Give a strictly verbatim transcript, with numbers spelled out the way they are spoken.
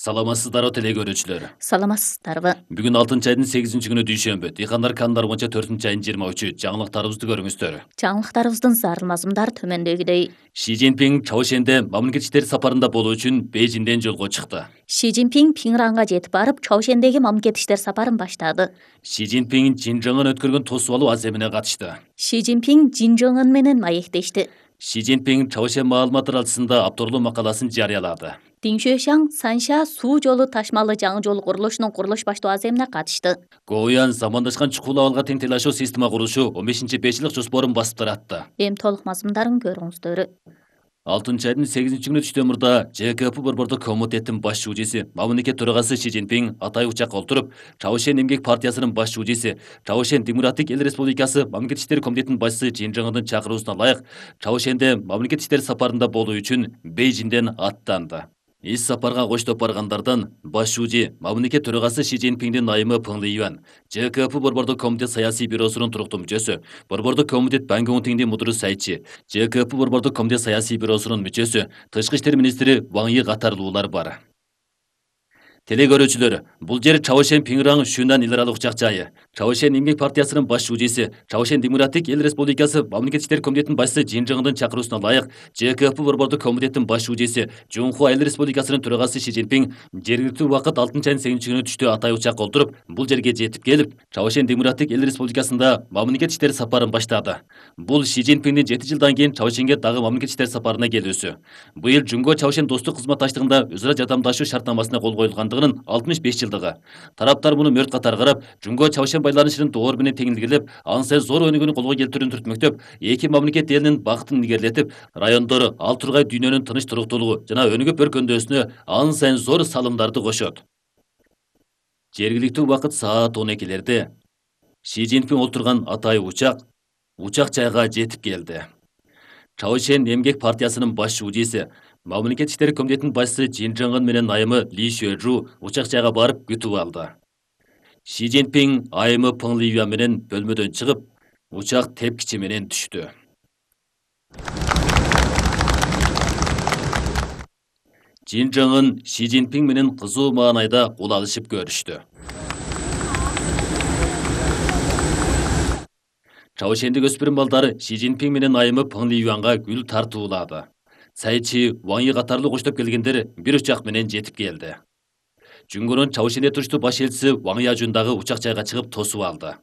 Саламатсыздарбы теле көрүүчүлөр. Саламатсыздарбы. Бүгүн алтынчы айдын сегизинчи күнү дүйшөмбү. Дыйкандар кандар боюнча төртүнчү айдын жыйырма үчү. Жаңылыктарыбызды көрүңүздөр. Жаңылыктарыбыздын зарыл мазмундары төмөндөгүдөй. Ши Цзиньпин Чаошенде мамлекет иштери сапарында болуу үчүн Бейжиңден жолго чыкты. Ши Цзиньпин Пиңранга жетип барып, Чаошендеги мамлекет иштери сапарын баштады. Ши Цзиньпин Жинжыңын өткөргөн тосуп алуу аземине катышты. Ши Цзиньпин Жинжыңын менен маектешти. Ши Цзиньпин Чаошен маалымат таралчысында авторлуу макаласын жарыялады. Диншуэшаң Санша суу жолу ташмалы жаңы жол курулушунун курулуш баштоо аземине катышты. Гоуян замандашкан чукул абалга тең тейлашуу система курулушу он бешинчи беш жылдык жоспорун басып таратты. Эми толук мазмундарын көрүңүздөр. алтынчы айдын сегизинчи күнү түштөн мурда Ж К П борбордук комитеттин баш шужиси, мамлекет төрагасы Ши Цзиньпин атай учакка отуруп, Чаошен эмгек партиясынын баш шужиси, Чаошен Демократик эл республикасы мамлекет иштери комитетинин башчысы Жин Жыңдын чакыруусуна ылайык Чаошенде мамлекет иштери сапарында болуу үчүн Бейжиңден аттанды. Ис сапарга коштоп баргандардан баш шужи, мамлекет төрагасы Ши Цзиньпиндин айымы Пeng Лiyuan, Ж К П борбордук комитет саясий бюросунун туруктуу мүчөсү, борбордук комитет Пан Ге Мун мудуру сайтчы, Ж К П борбордук комитет саясий бюросунун мүчөсү, тышкы иштер министри Ван Йи катарлуулар бар. Теле көрүүчүлөр, бул жер Чаошен Пиңраң Шүнан эл аралык учак жайы. Чаошен эмгек партиясынын баш шужиси, Чаошен Демократик эл республикасы мамлекет иштери комитетинин башчысы Жин Жыңдын чакыруусуна ылайык Ж К П борбордук комитеттин баш шужиси, Жунхуа эл республикасынын төрагасы Ши Цзиньпин жергиликтүү убакыт алтынчы айдын сегизинчи күнү түштө атай учакка отуруп, бул жерге жетип келип, Чаошен Демократик эл республикасында мамлекет иштери сапарын баштады. Бул Ши Цзиньпиндин жети жылдан кийин Чаошенге дагы мамлекет иштери сапарына келүүсү. Быйыл Жунго Чаошен достук кызматташтыгында өз ара жардамдашуу шартнамасына кол коюлгандыгынын алтымыш беш жылдыгы. Тараптар муну мөрт катар карап, Жунго Чаошен байланышынын доор менен теңилгилеп, ансыз зор өнүгүүнү колго келтирүүнү түртмөктөп, эки мамлекет элинин бактын илгерилетип, райондор ал тургай дүйнөнүн тыныч туруктуулугу жана өнүгүп өркөндөшүнө ан сайын зор салымдарды кошот. Жергиликтүү убакыт саат он экилерде Ши Цзиньпин отурган атай учак учак жайга жетип келди. Чаошен эмгек партиясынын баш шужиси, мамлекет иштери комитетинин башчысы Жин Жыңгын менен айымы Ли Шуэжу учак жайга барып күтүп алды. Ши Цзиньпин айымы Пeng Liyuan менен бөлмөдөн чыгып, учак тепкичи менен түштү. Жин Жыңгын Ши Цзиньпин менен кызуу маанайда кол алышып көрүштү. Чаошендик өспүрүм балдары Ши Цзиньпин менен айымы Пeng Liyuanга гүл тартуулады. Сайчы Ван Йи катарлуу коштоп келгендер бир учак менен жетип келди. Жунгонун Чаошенде туруштуу баш элчиси Ван Яжун дагы учак жайга чыгып тосуп алды.